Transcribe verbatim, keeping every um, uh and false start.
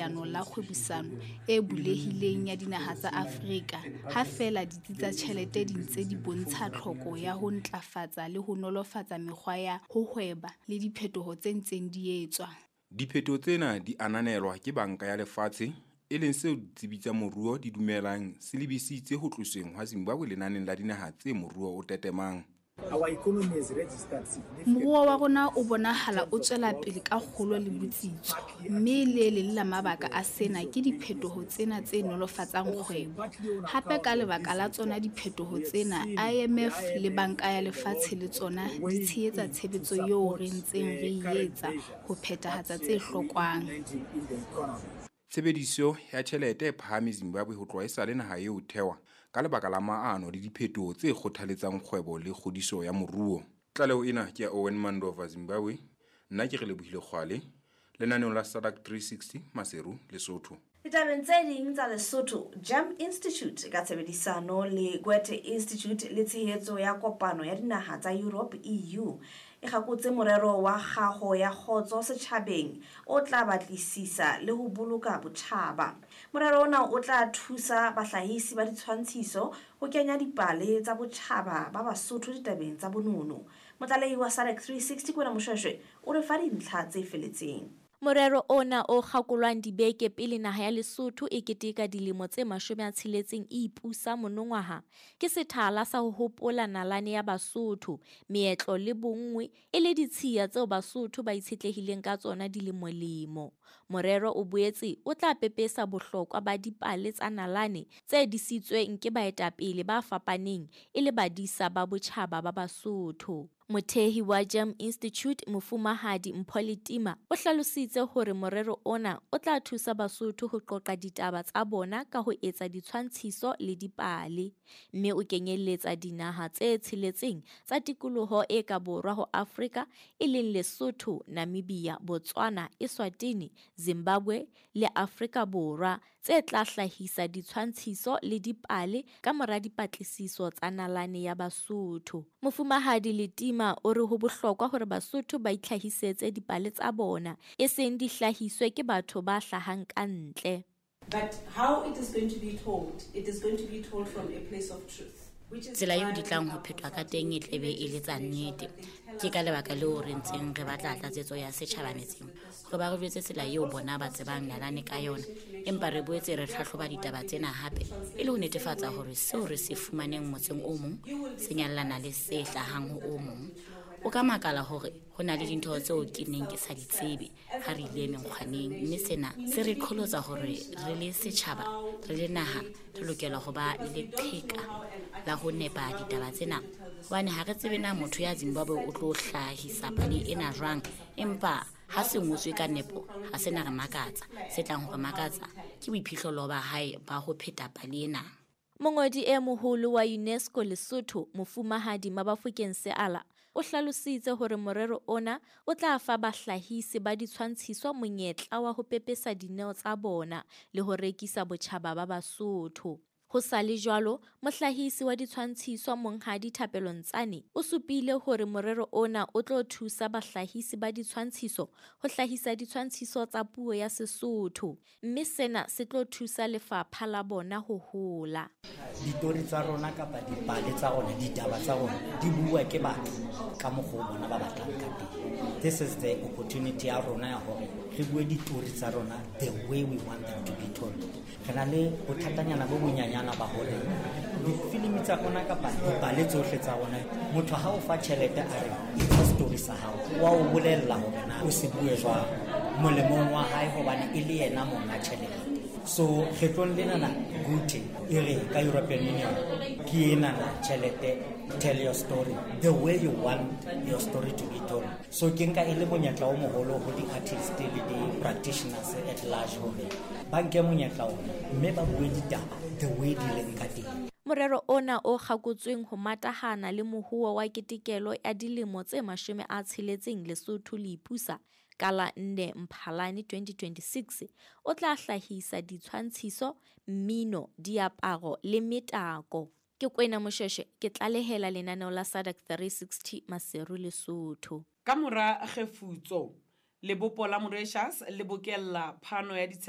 Leano la Kgwebisano e Bulehileng ya Dinaha tsa Afrika, ha feela ditsi tsa ditjhelete di ntse di bontsha tlhoko ya ho ntlafatsa le ho nolofatsa mekgwa ya ho hweba le diphetoho tse ntseng di etswa. Diphetoho tsena di ananelwa ke Banka ya Lefatshe, e leng seo ditsebi tsa moruo di dumelang se lebisitse ho tlosweng ha Zimbabwe lenaneng la dinaha tse moruo o tetemang. Moruo wa rona o bonahala o tswela pele ka kgolo le botsitso, mme le leng la mabaka a sena ke diphetoho tsena tse nolofatsang kgwebo. Hape ka lebaka la tsona diphetoho tsena, I M F le Banka ya Lefatshe le tsona di tshehetsa tshebetso eo re ntseng re e etsa ho phethahatsa tse hlokwang. Tshebediso ya tjhelete e phahame Zimbabwe ho tloha esale naha eo e thehwa ka lebaka la maano le diphetoho tse kgothaletsang kgwebo le kgodiso ya moruo. Tlaleho ena ke ya Owen Mandova, Zimbabwe. Nna ke Relebohile Kgwale, lenaneong la SADC three sixty, Maseru, Lesotho. Ditabeng tse ding tsa Lesotho, Gem Institute ka tshebedisano le Goethe Institute le tshehetso ya Kopano ya Dinaha tsa Europe, E U, e kgakotse morero wa kgaho ya kgotso setjhabeng o tla batlisisa le ho boloka botjhaba. Morero ona o tla thusa bahlahisi ba ditshwantshiso ho kenya dipale tsa botjhaba ba Basotho ditabeng tsa bonono. Motlalehi wa SADC three sixty Kwena Moshweshwe o re fa dintlha tse feletseng. Morero ona o kgakolwang dibeke pele naha ya Lesotho e keteka dilemo tse mashome a tsheletseng e ipusa monongwaha, ke sethala sa ho hopola nalane ya Basotho, meetlo le bonngwe e le ditshiya tseo Basotho ba itshetlehileng ka tsona dilemolemo. Morero o boetse o tla pepesa bohlokwa ba dipale tsa nalane tse disitsweng ke baetapele ba fapaneng e le badisa ba botjhaba ba Basotho. Mothehi wa Gem Institute, Mofumahadi Mpho Letima, o hlalositse hore morero ona o tla thusa Basotho ho qoqa ditaba tsa bona ka ho etsa ditshwantshiso le dipale, mme o kenyelletsa dinaha tse tsheletseng tsa tikoloho e ka borwa ho Afrika, e leng Lesotho, Namibia, Botswana, Eswatini, Zimbabwe le Afrika Borwa, tse tla hlahisa ditshwantshiso le dipale ka mora dipatlisiso tsa nalane ya Basotho. Mofumahadi Letima o re ho bohlokwa hore Basotho ba itlhahisetse dipale tsa bona, e seng di hlahiswe ke batho ba hlahang ka ntle. But how it is going to be told, it is going to be told from a place of truth. Tsela eo di tlang ho phethwa ka teng e tlebe e le tsa nnete. Ke ka lebaka leo re ntseng re batla tlatsetso ya setjhaba metseng hore ba re jwetse tsela eo bona ba tsebang nalane ka yona, empa re boetse re hlahloba ditaba tsena hape e le ho netefatsa hore seo re se fumaneng motseng o mong se nyallana le se hlahang ho o mong. O ka makala hore ho na le dintho tseo ke neng ke sa di tsebe ha re ile menkgwaneng, mme sena se re qholotsa hore re le setjhaba, re le naha, re lokela ho ba le leqheka la ho nepa ditaba tsena, hobane ha re tsebe na motho ya Zimbabwe o tlo hlahisa pale ena jwang, empa ha se ngotswe ka nepo ha se na re makatsa. Se tlang ho re makatsa ke boiphihlelo ba hae ba ho pheta pale ena. Mongodi e moholo wa UNESCO Lesotho, Mofumahadi Mabafokeng Seala, o hlalositse hore morero ona o tla fa bahlahisi ba ditshwantshiso monyetla wa ho pepesa dineo tsa bona le ho rekisa botjhaba ba Basotho. Ho sa le jwalo, mohlahisi wa ditshwantshiso Monghadi Thapelo Ntsane o supile hore morero ona o tlo thusa bahlahisi ba ditshwantshiso ho hlahisa ditshwantshiso tsa puo ya Sesotho, mme sena se tlo thusa lefapha la bona ho hola. Ditori tsa rona kapa dipale tsa rona, ditaba tsa rona di bua ke batho ka mokgwa o bona ba batlang ka teng. This is the opportunity ya rona ya hore re bue ditori tsa rona the way we want them to be told. Re na le bothatanyana bo bonyanyana ba hore difilimi tsa rona kapa dipale tsohle tsa rona, motho ha o fa tjhelete a re etsa story sa hao, wa o bolella hore na o se bue jwang molemong wa hae, hobane e le yena monga tjhelete. So kgetlong lenana Goethe e re ka European Union ke enana tjhelete, tell your story the way you want your story to be told. So ke nka e le monyetla o moholo ho di-artist le di-practitioners at large hore ba nke monyetla ona mme ba bue ditaba the way di leng ka teng. Morero ona o kgakotsweng ho matahana le mohoo wa ketekelo ya dilemo tse mashome a tsheletseng Lesotho le ipusa ka la nne Mphalane twenty twenty-six, o tla hlahisa ditshwantshiso, mmino, diaparo le metako. Ke Kwena Moshweshwe, ke tlalehela lenaneo la SADC three sixty, Maseru, Lesotho. Ka mora kgefutso, lebopo la Mauritius le bokella phano ya ditshebeletso.